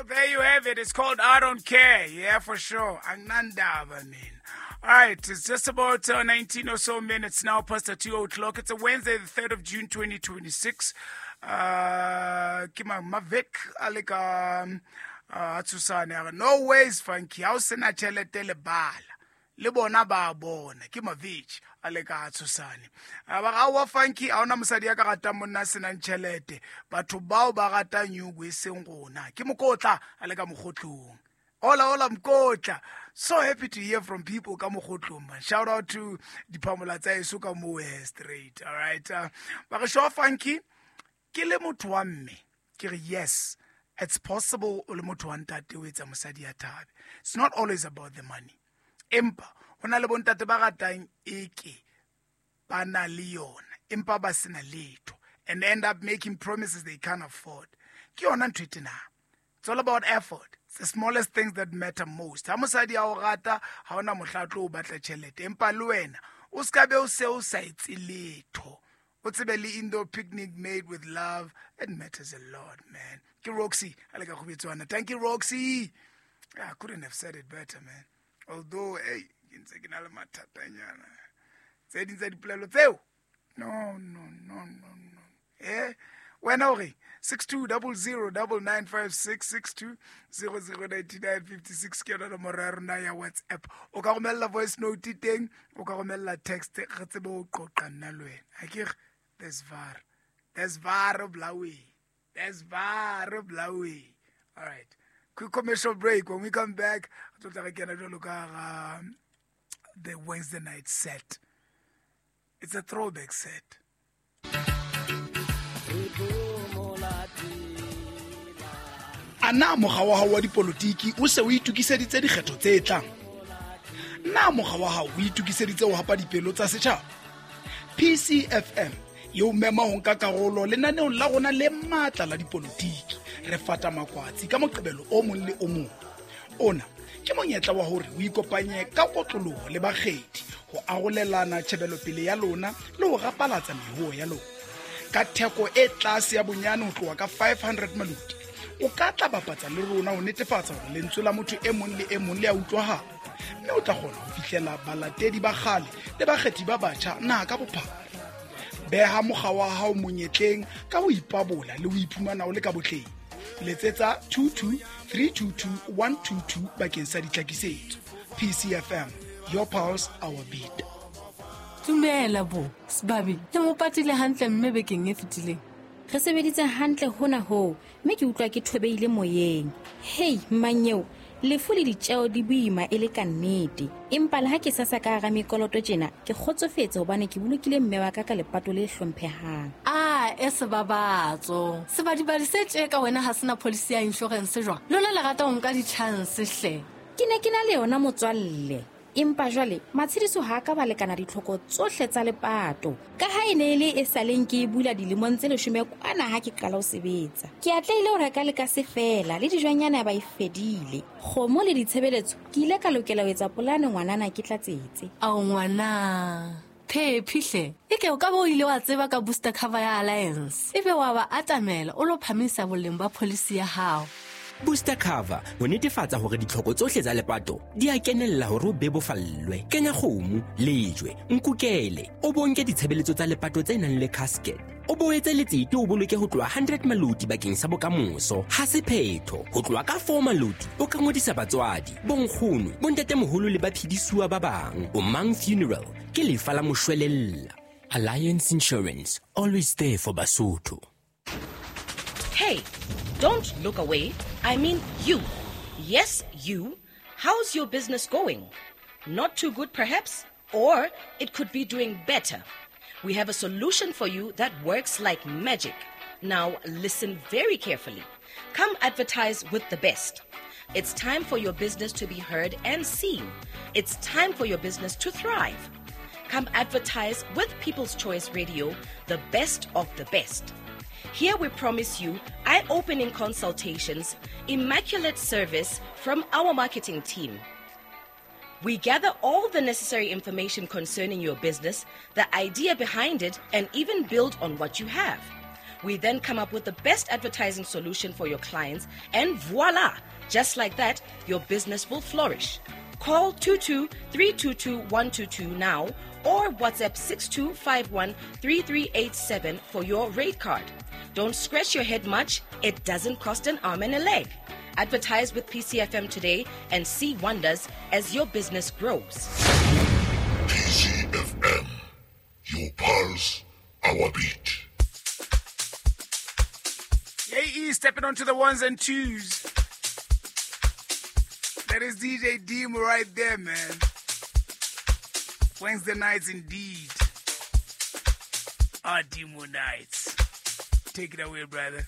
There you have it. It's called I Don't Care. Yeah, for sure. Anginandaba, man. All right, it's just about 19 or so minutes now past the 2 o'clock. It's a Wednesday, the 3rd of June, 2026. Ke Mavik a le ka a tshosane a re no ways funky ha o sena tjhelete le bala le bona ba bona ke Mavich a le ka tshosane a ba ga wa funky a ona mosadi ya ka ratang monna a senang tjhelete batho bao ba ratang nyuku e seng rona ke mokotla a le ka mogotlong. Hola, hola, Mkotla. So happy to hear from people ka mogotlong, man. Shout out to diphamola tsa eso ka mo straight. All right. Ba re show funky ke le motho wa mme. Ke re yes, it's possible o le motho wa ntate o etsa mosadi ya thabe. It's not always about the money. Empa ho na le bontate ba ratang eke ba na le yona empa ba sena letho and end up making promises they can't afford. Ke yona ntho e tena. It's all about effort. It's the smallest things that matter most. Ha mosadi a o rata, ha ona mohla a tlo o batla tjhelete. Empa le wena, o ska be o se o sa etse letho. O tsebe le indoor picnic made with love. It matters a lot, man. Ke Roxy, a le ka kgobetswana. Thank you, Roxy. I couldn't have said it better, man. Although, hey, ke ntse ke na le mathatanyana. Tse ding tsa dipolelo tseo. No, no, no, no, no. Wena o re 62009956 62009956 ke yona nomoro ya rona ya WhatsApp. O ka romella voice note teng, o ka romella text, re tsebe ho qoqa nna le wena. Ha ke re there's var. There's var blawe. There's var blawe. All right. Quick commercial break. When we come back, re tlo tla re kena jwalo ka hara the Wednesday night set. It's a throwback set. A na mokga wa hao wa dipolotiki o se o itokiseditse dikgetho tse tlang? Na mokga wa hao o itokiseditse ho hapa dipelo tsa setjhaba? PCFM e o mema ho nka karolo lenaneong la rona le matla la dipolotiki. Re fata makwatsi ka moqebelo o mong le o mong. Ona ke monyetla wa hore o ikopanye ka kotloloho le bakgethi ho arolelana tjhebelopele ya lona le ho rapalatsa mehuo ya lona. Ka theko e tlase ya bonyane ho tloha ka 500 maloti, o ka tla bapatsa le rona ho netefatsa hore lentswe la motho e mong le e mong le a utlwahala, mme o tla kgona ho fihlela balatedi ba kgale le bakgethi ba batjha naha ka bophara. Beha mokga wa hao monyetleng ka ho ipabola le ho iphumana o le ka botleng. Letsetsa 22 322 122 bakeng sa ditlhakisetso. PCFM, your pulse, our beat. Dumela bo sebabi, le mo patile hantle mme bekeng e fetileng. Re sebeditse hantle hona hoo, mme ke utlwa ke thobeile moyeng. Hei mmanyeo, lefu le ditjeo di boima e le ka nnete, empa le ha ke sasa ka hara mekoloto tjena, ke kgotsofetse hobane ke bolokile mme wa ka ka lepato le hlomphehang. A e sebabatso sebadibadi se tje ka wena ha sena policy ya insurance jwang? Lona le rata ho nka di-chance hle. Ke ne ke na le yona motswalle, empa jwale matshediso ha a ka ba lekana ditlhoko tsohle tsa lepato, ka ha e ne e le e saleng ke e bula dilemong tse 10 kwana ha ke qala ho sebetsa. Ke atlehile ho reka le ka se fela le dijonyana ba e fedile. Kgomo le ditshebeletso ke ile ka lokela ho etsa polane ngwanana ke tlatsetse. Ao ngwana phephi hle, e ke o ka ba o ile wa tseba ka booster cover ya Alliance, ebe wa ba atamela o lo phamisa boleng ba policy ya hao. Booster cover ho netefatsa hore ditlhoko tsohle tsa lepato di a kenella hore o bebofallwe. Kenya kgomo, lejwe, nkukele, o bonke ditshebeletso tsa lepato tse nang le casket. O boetse letsete o boloke ho tloha 100 maloti bakeng sa bokamoso. Ha se phetho, ho tloha ka 4 maloti o ka ngodisa batswadi, bonkgono, bontatemoholo le baphedisuwa ba bang. Omang Funeral ke lefa la moshwelella. Alliance Insurance, always there for Basotho. Hey, don't look away. I mean you. Yes, you. How's your business going? Not too good, perhaps? Or it could be doing better. We have a solution for you that works like magic. Now, listen very carefully. Come advertise with the best. It's time for your business to be heard and seen. It's time for your business to thrive. Come advertise with People's Choice Radio, the best of the best. Here we promise you eye-opening consultations, immaculate service from our marketing team. We gather all the necessary information concerning your business, the idea behind it, and even build on what you have. We then come up with the best advertising solution for your clients, and voila! Just like that, your business will flourish. Call 22 322 122 now or WhatsApp 6251 3387 for your rate card. Don't scratch your head much, it doesn't cost an arm and a leg. Advertise with PCFM today and see wonders as your business grows. PCFM, your pulse, our beat. AE stepping onto the ones and twos. That is DJ Dimo right there, man. Wednesday nights indeed. Our Dimo nights. Take it away, brother.